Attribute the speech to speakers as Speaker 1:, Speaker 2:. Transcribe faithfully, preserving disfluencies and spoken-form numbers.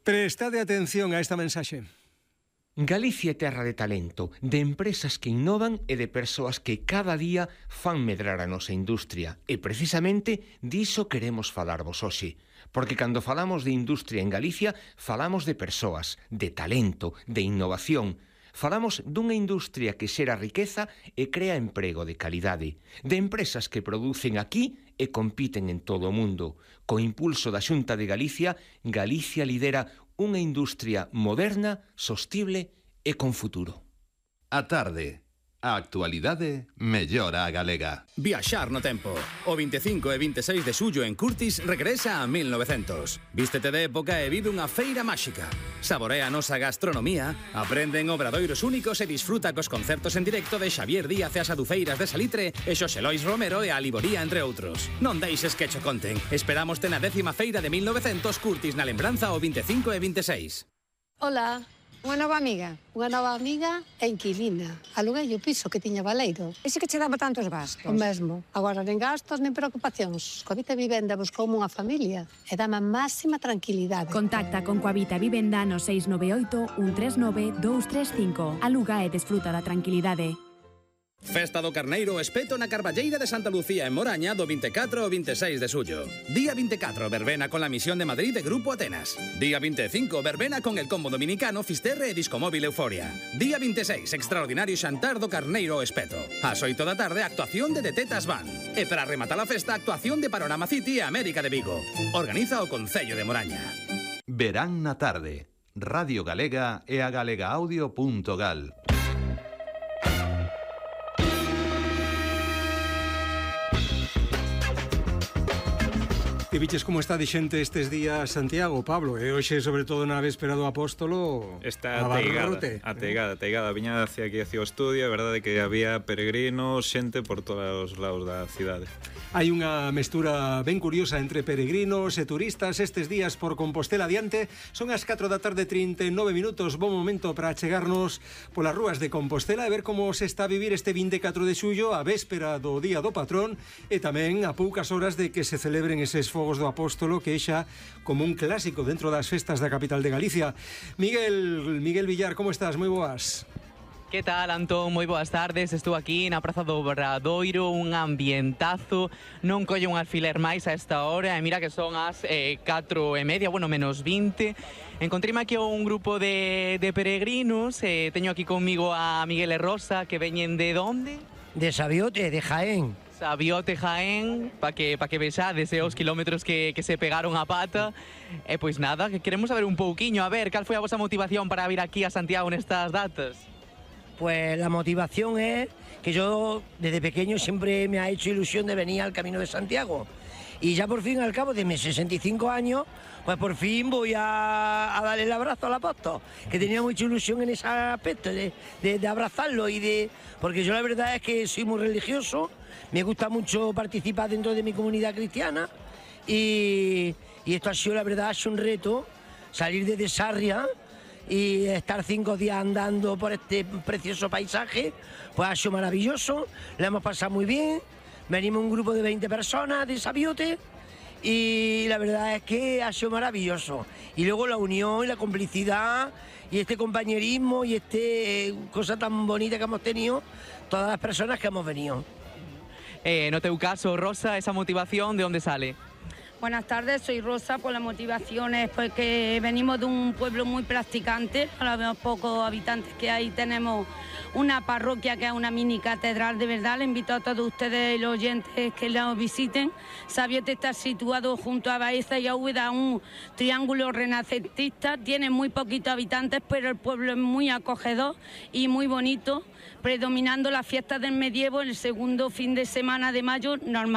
Speaker 1: Prestade atención a esta mensaxe.
Speaker 2: Galicia é terra de talento, de empresas que innovan e de persoas que cada día fan medrar a nosa industria. E precisamente diso queremos falarvos hoxe. Porque cando falamos de industria en Galicia, falamos de persoas, de talento, de innovación. Falamos dunha industria que xera riqueza e crea emprego de calidade, de empresas que producen aquí e compiten en todo o mundo. Co impulso da Xunta de Galicia, Galicia lidera unha industria moderna, sostible e con futuro.
Speaker 3: A tarde, a actualidade mellora a galega.
Speaker 4: Viaxar no tempo. O vinte e cinco e vinte e seis de xullo en Curtis regresa a mil novecentos. Vístete de época e vive unha feira máxica. Saborea a nosa gastronomía, aprende en obradoiros únicos e disfruta cos concertos en directo de Xavier Díaz e as adufeiras de Salitre e Xosé Lois Romero e a Liboría, entre outros. Non deixes que cho conten. Esperámoste na décima feira de mil novecentos Curtis na lembranza o vinte e cinco e vinte e seis.
Speaker 5: Hola. Unha nova amiga, unha nova amiga e inquilina. Aluguei o piso que tiña baleiro.
Speaker 6: Ese que che daba tantos gastos?
Speaker 5: O mesmo. Agora, nen gastos, nen preocupacións. Coavita Vivenda buscoume unha familia e dame a máxima tranquilidade.
Speaker 7: Contacta con Coavita Vivenda no seis nove oito, un tres nove, dous tres cinco. Aluga e desfruta da tranquilidade.
Speaker 4: Festa do Carneiro Espeto na Carballeira de Santa Lucía en Moraña do vinte e catro ao vinte e seis de xullo. Día vinte e catro, verbena con la Misión de Madrid de Grupo Atenas. Día vinte e cinco, verbena con el combo dominicano Fisterre e Discomóvil Euforia. Día vinte e seis, extraordinario xantar do Carneiro Espeto. Ás oito da tarde, actuación de De Tetas Van. E para rematar a festa, actuación de Panorama City e América de Vigo. Organiza o Concello de Moraña.
Speaker 3: Verán na tarde. Radio Galega e a galegaaudio punto gal.
Speaker 1: E viches como está de xente estes días Santiago, Pablo, e hoxe, sobre todo na véspera do Apóstolo,
Speaker 8: está ateigada, ateigada, ateigada. Viña hacia aquí, hacia o estudio, é verdade que había peregrinos, xente por todos os lados da cidade.
Speaker 1: Hai unha mestura ben curiosa entre peregrinos e turistas estes días por Compostela adiante. Son as catro da tarde, trinta e nove minutos. Bon momento para chegarnos polas rúas de Compostela e ver como se está a vivir este vinte e catro de xullo, a véspera do Día do Patrón, e tamén a poucas horas de que se celebren eses fogos do Apóstolo, que é xa como un clásico dentro das festas da capital de Galicia. Miguel, Miguel Villar, como estás? Moi boas.
Speaker 9: Que tal, Antón? Moi boas tardes. Estou aquí na Praza do Obradoiro, un ambientazo. Non collo un alfiler máis a esta hora, e mira que son as eh, catro e media, bueno, menos vinte. Encontríme aquí un grupo de, de peregrinos. Eh, teño aquí conmigo a Miguel e Rosa, que veñen de onde?
Speaker 10: De Sabiote, de Jaén.
Speaker 9: Sabiote, Jaén, para que, pa que vexades eh, os kilómetros que, que se pegaron a pata. E pois nada, que queremos saber un pouquiño, a ver, cal foi a vosa motivación para vir aquí a Santiago nestas datas?
Speaker 10: Pues la motivación es que yo desde pequeño siempre me ha hecho ilusión de venir al Camino de Santiago. Y ya por fin, al cabo de mis sesenta y cinco años, pues por fin voy a, a darle el abrazo al apóstol, que tenía mucha ilusión en ese aspecto, de, de, de abrazarlo y de... Porque yo la verdad es que soy muy religioso, me gusta mucho participar dentro de mi comunidad cristiana y, y esto ha sido, la verdad, ha sido un reto, salir desde Sarria y estar cinco días andando por este precioso paisaje, pues ha sido maravilloso, lo hemos pasado muy bien, venimos un grupo de veinte personas de Sabiote y la verdad es que ha sido maravilloso. Y luego la unión y la complicidad y este compañerismo y este eh, cosa tan bonita que hemos tenido todas las personas que hemos venido.
Speaker 9: Eh, no teu caso, Rosa, esa motivación, ¿de dónde sale?
Speaker 11: Buenas tardes, soy Rosa. Pues la motivación es porque venimos de un pueblo muy practicante, a los pocos habitantes que hay tenemos una parroquia que es una mini catedral, de verdad. Le invito a todos ustedes y los oyentes que la visiten. Sabiote está situado junto a Baeza y a Úbeda, un triángulo renacentista, tiene muy poquitos habitantes, pero el pueblo es muy acogedor y muy bonito, predominando las fiestas del medievo el segundo fin de semana de mayo, normal.